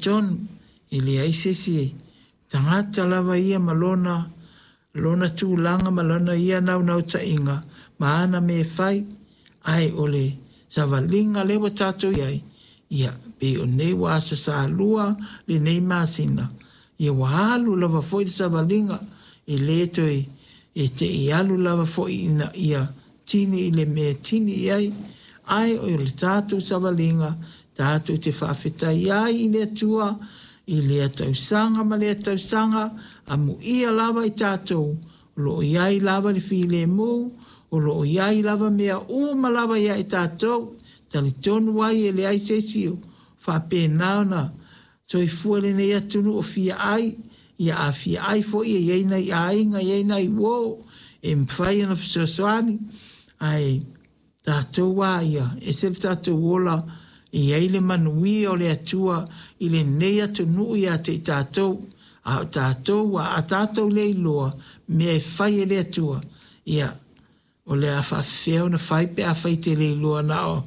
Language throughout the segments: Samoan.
talitonu e leai se isi e tagata lava ia ma lona lona tulaga ma lona ia naunautaiga ma ana mea e fai, ae o le savaliga lea ua tatou i ai, ia, pei o nei ua Aso Sa 2 lenei masina, ia ua alu lava foi le savaliga, e le toe e te i alu lava foi ina ia tini i le mea e tini i ai, ae o le tatou savaliga tatou te faafetai ai i le Atua i lea tausaga ma lea tausaga, amuia lava i tatou o lo o i ai lava le filemu, o lo o i ai lava mea uma lava ia i tatou, talitonu ai e leai se isi o faapena ona soifua i lenei atunuu o fia ai, ia a fia ai foi e i ai nai aiga, e i ai nai uo e mafai ona fesoasoani, ae tatou a ia, ese le tatou ola e i ai le manuia o le Atua i lenei atunuu ia te i tatou, a o tatou a, a tatou le iloa mea e fai e le Atua, ia, o le a faafefea ona fai pe afai e te le iloa na o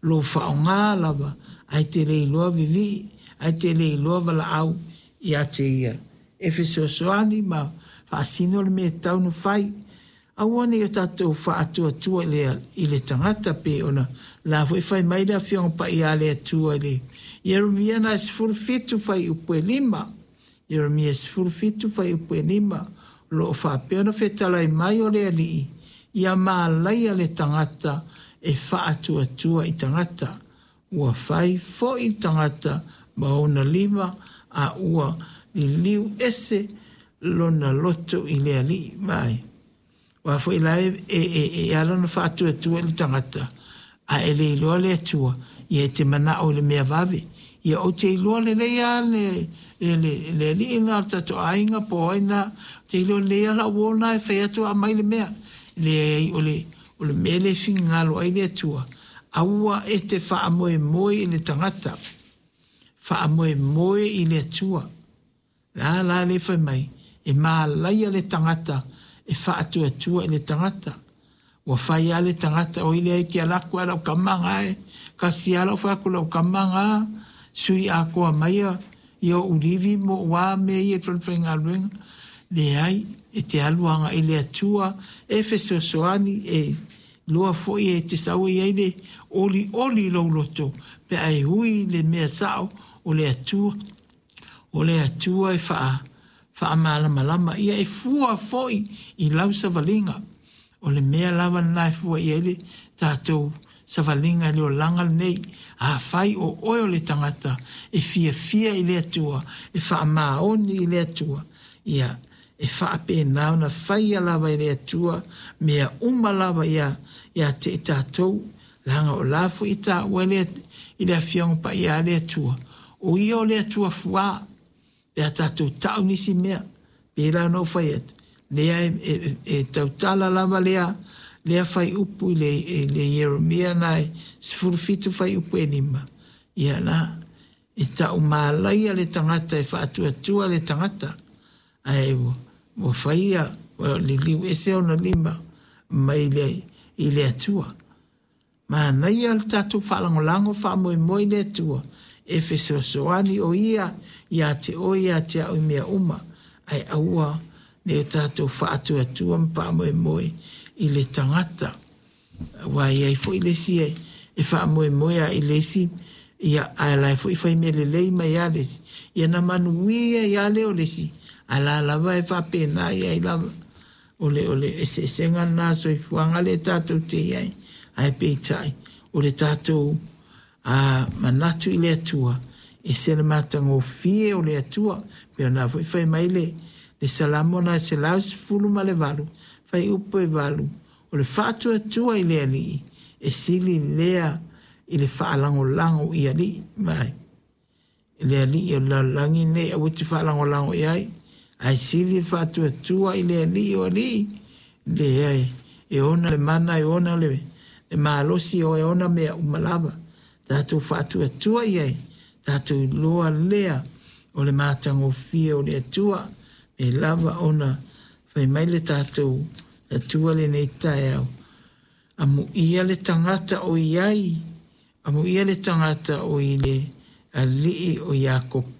lou faaaoga lava ae te le iloa vivii ae te le iloa valaau ia te ia e fesoasoani ma faasino le mea e tatau ona fai. Aua ne i o tatou faatuatua i le, i le tagata pei ona la foi fai mai le Afioga Paia a le Atua i le Ieremia na 17 fuaiupu e 5. Ieremia 17 fuaiupu e 5, o lo o faapea ona fetalai mai o le Alii, ia malaia le tagata e faatuatua i tagata. Ua fai foi le tagata ma ona lima, a ua liliu ese lona loto i le Alii. Vaai. Aua foi la e, e, e, e ala ona faatuatua i le tagata, a e le iloa le Atua, ia e te manao i le mea vave. Ia ou te iloa lelei lava le, le, le, le alii lena o le tatou aiga po o ai lena, ou te iloa lelei lava lau uo lena e fai atu aumai le mea. Leai, o le, o le mea lea e finagalo ai le Atua, aua e te faamoemoe i le tagata, faamoemoe i le Atua. La la lea fai mai, e malaia le tagata e faatuatua i le tagata. Ua fai lava le tagata, oi leai te alu atu a lau tama na e, kasi lava lau fai atu lau tama na, sui atoa mai ia ia ou livi ma ou a mea ia i le falefaigaluega. Leai, e te alu agai i le Atua e fesoasoani, e iloa foi e te sau e i ai le olioli i lou loto pe a e ui i le mea sao o le Atua. O le Atua e faa, faamalamalama, ia e fua foi i lau savaliga. O le mea lava lena e fua i ai le tatou savaliga i le olaga lenei. Afai o oe o le tagata e fiafia i le Atua, e faamaoni i le Atua, ia e faapena ona faia lava e le Atua mea uma lava ia, ia te i tatou, leaga o la foi e taua i le, i le Afioga Paia a le Atua, o ia o le Atua fuā, pe a tatou ta'u nisi mea. Pei la ona ou fai atu, lea e, e, e tautala lava lea, lea fuaiupu i le, i le Ieremia na e 17 fuaiupu e 5. Ia la, e ta'u malaia le tagata e faatuatua le tagata, ae ua, ua faia, ua liliu ese ona lima mai le, i le Atua. Manaia le tatou faalagolago faamoemoe i le Atua e fesoasoani o Ia ia te oe ia te au i mea uma, ae aua ne i o tatou faatuatua ma faamoemoe i le tagata. Aua e i ai foi le isi e, e faamoemoe lava i le isi, ia, ae la e foi fai mea lelei mai lava le isi, ia na manuia ai lava lea o le isi, ae la lava e faapena i ai lava. O le, o le eseesega lena soifuaga lea tatou te i ai, ae peitai, o le tatou a, manatu i le Atua, ese le matagofie o le Atua. Pei ona foi fai mai le, le Salamo na 118, fuaiupu e 8, o le faatuatua i le Alii, e sili lea i le faalagolago i alii. Mai. Le alii o le lalolagi nei aua e te faalagolago i ai, ae sili le faatuatua i le alii o alii, leai, e ona le mana, e ona le, le malosi, e ona mea uma lava. Tatou faatuatua i ai, tatou iloa lea o le matagofie o le Atua, e lava ona fai mai le tatou Atua lenei taeao. Amuia le tagata o i ai, amuia le tagata o i le alii o Iakopo.